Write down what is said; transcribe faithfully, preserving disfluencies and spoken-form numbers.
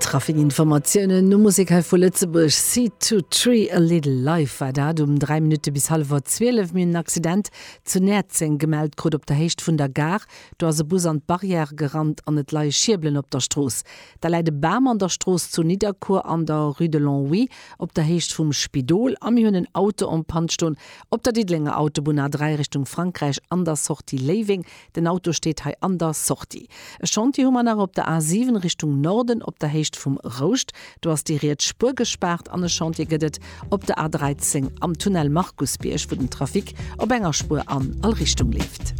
Trafikinformatiounen no Musek hei vu Lëtzebuerg, Seed to Tree, A Little Life war dat um dräi Minutte bis hallwer zwielef. Mir hunn en Accident zu Näerzeng gemellt krut op der Héicht vun der Gare. Do ass e Bus an d'Barrière gerannt an et leie Schierbelen op der Strooss. Da läit e Bam an der Strooss zu Nidderkuer an der Rue de Longwy op der Héicht vum Spidol a mir hunn en Auto en panne stoen op der Diddelenger Autobunn A dräi Richtung Frankräich an der Sortie Léiweng. Den Auto steet hei an der Sortie. E Chantier hu mer nach op der A siwen Richtung Norden op der Héicht vum Rouscht. Do ass déi riets Spuer gespaart an e Chantier gëtt et op der A dräizéng am Tunnel Markusbierg, wou den Trafic op enger Spuer an all Richtung leeft.